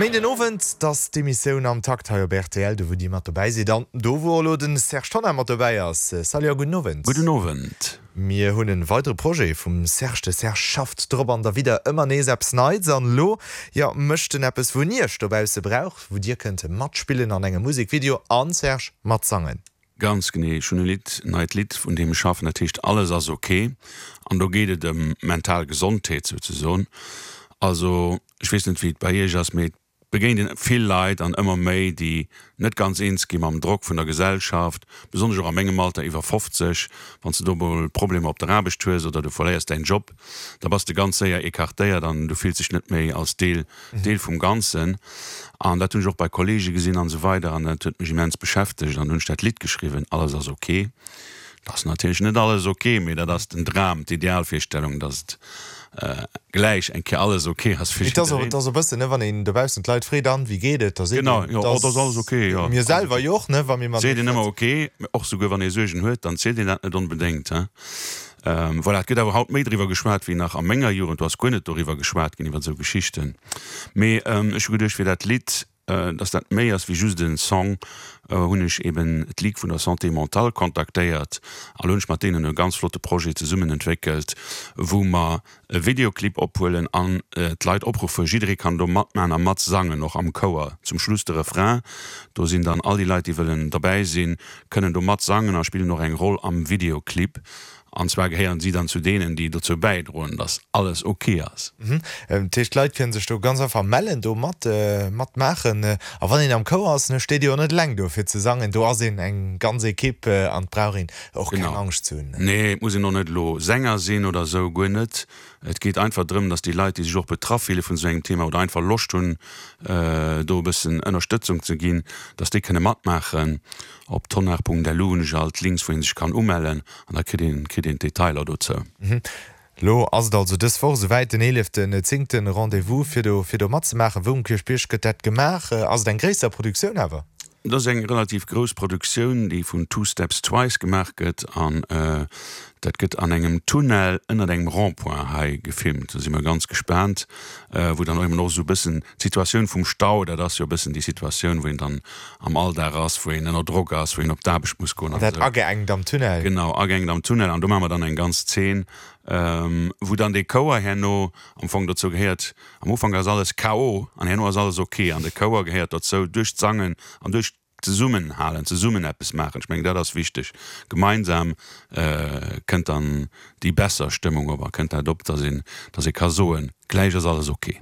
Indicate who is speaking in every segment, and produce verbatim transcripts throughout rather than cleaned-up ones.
Speaker 1: Méinden Owend, dat ass d'Emissioun Am Takt hei op rtl, do wou Dir mat dobäi sidd an do wou och elo den Serge Tonnar mat dobäi ass. Salut a gudden Owend.
Speaker 2: Gudden Owend.
Speaker 1: Mir hunn en weidere Projet vum Serge, de Serge schafft drop an derwidder ëmmer nees eppes Neits an elo, jo, mécht en eppes wou en Iech dobausse brauch, wou Dir kënnt matspillen an engem Musekvideo an, Serge, matsangen.
Speaker 2: Ganz genee, ech hunn e Lidd, neit Lidd vun deem ech schaffen, dat heescht Alles ass ok an do geet et ëm mental Gesondheet souzesoen. Also ech weess net wéi et bei iech ass, mee et begéint een vill Leit an ëmmer méi, déi net ganz eens gi mam Drock vun der Gesellschaft, besonnesch och a mengem Alter, iwwer fofzeg, wann s de do mol Problemer op der Aarbecht hues oder du verléiers däin Job, da bass de ganz séier écartéiert an du fills dech net méi als Deel Deel vum Ganzen. An dat hunn ech och bei Kollege gesinn an esou weider an dat huet mech immens beschäftegt an hunn ech dat Lidd geschriwwen, Alles ass ok. Et ass natierlech net alles ok, mee dat ass den Dram, d'Idealvirstellung, dass et gläich eng Kéier alles ok ass fir
Speaker 1: Et ass
Speaker 2: jiddereen.
Speaker 1: et ass e bëssen, ne, wann een dobaussen d'Leit freet, an, wéi geet et, da seet
Speaker 2: Genau,
Speaker 1: een,
Speaker 2: jo, oh, dat ass alles ok, jo.
Speaker 1: Mir selwer jo och, ne, wa mir
Speaker 2: Seet
Speaker 1: matenee
Speaker 2: een ëmmer
Speaker 1: schwätzen.
Speaker 2: ok, mee och souguer wann ee Suergen huet, dann zielt een dat net onbedéngt, he. Voilà, et gëtt awer haut méi driwwer geschwat wéi nach a menger Jugend, do ass guer net doriwwer geschwat ginn, iwwer esou Geschichten. Mee ech hu geduecht, fir dat Lidd Dass dat méi ass wéi just en Song, hunn ech eben d'Ligue vun der Santé mentale kontaktéiert an hunn ech mat deenen e ganz flotte Projet zesummen entwéckelt, wou mer e Videoclip ophuelen an d'Leit opruffen, jidderee kann do matmachen a matsangen, och am Chouer zum Schluss de Refrain. Do sinn dann all déi Leit, déi wëllen derbäi sinn, kënnen do matsangen a spillen och eng Roll am Videoclip. An zwar gehéieren si dann zu deenen, déi dozou bäidroen, dass alles ok ass.
Speaker 1: Dat heescht, d'Leit kënnen sech do ganz einfach mellen, do mat matmaachen. A wann een am Chouer ass, ne, steet ee jo net eleng do fir ze sangen, do ass een eng ganz Equipe an et brauch een och keng
Speaker 2: Genau.
Speaker 1: Angscht ze hunn.
Speaker 2: Nee, et muss een och net elo Sänger sinn oder esou, guer net. Et geet einfach drëm, dass déi Leit, déi sech och betraff fille vun esou engem Thema oder einfach Loscht hunn, do e bëssen Ënnerstëtzung ze ginn, dass déi kënne matmaachen. Op tonnar.lu hunn ech all d'Links, wou ee sech kann umellen an da kritt een kritt een d'Detailer dozou.
Speaker 1: Lo ass et also dës Woch esouwäit, den eeleften zéngten Rendez-vous fir do fir do matzemaachen. Wou um Kierchbierg gëtt dat gemaach? Ass et eng gréisser Produktioun awer?
Speaker 2: Et ass eng relativ grouss Produktioun, déi vun Two Steps Twice gemaach gëtt an dat gëtt an engem Tunnel ënnert engem Rond-point hei gefilmt. Do si mer ganz gespaant, wou dann och eben och esou e bëssen d'Situatioun vum Stau, dat ass jo e bëssen déi Situatioun, wou een dann am Alldag ass, wou een ënner Drock ass, wou een op d'Aarbecht muss goen
Speaker 1: An
Speaker 2: an
Speaker 1: dat
Speaker 2: esou.
Speaker 1: ageengt am Tunnel?
Speaker 2: Genau, ageengt am Tunnel. An do maache mer dann eng ganz Zeen, wou dann dee Chouer herno am Fong dozou gehéiert. Am Ufank ass alles K O an herno ass alles ok. An de Chouer gehéiert dozou duerch d'Sangen an duerch d'Zesummenhalen, zesummen eppes maachen. Ech mengen, dat ass wichteg. Gemeinsam kënnt dann déi besser Stëmmung op a kënnt dat op, dass een, dass ee ka soen, gläich ass alles ok.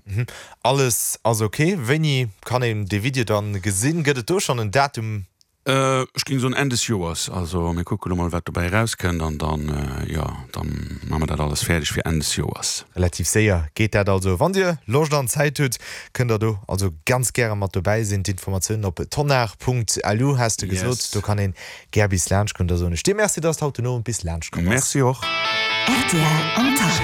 Speaker 1: Alles ass ok. Wéini kann een dee Video dann gesinn? Gëtt et do schonn en Datum?
Speaker 2: Ech géing soen Enn des Joers. Also mir kucke lo mol wat dobäi erauskënnt an dann, jo, dann maache mer dat alles fäerdeg fir Enn des Joers.
Speaker 1: Relativ séier geet dat also. Wann Dir Loscht an Zäit hutt, kënnt der do also ganz gäre mat dobäi sinn. D'Informatiounen op tonnar.lu has de gesot.
Speaker 2: Yes.
Speaker 1: Do kann een gär bis laanscht kommen. Da soen ech dir Merci, dass de haut den Owend bis laanscht komm bass.
Speaker 2: Merci och.
Speaker 3: Rtl am Takt.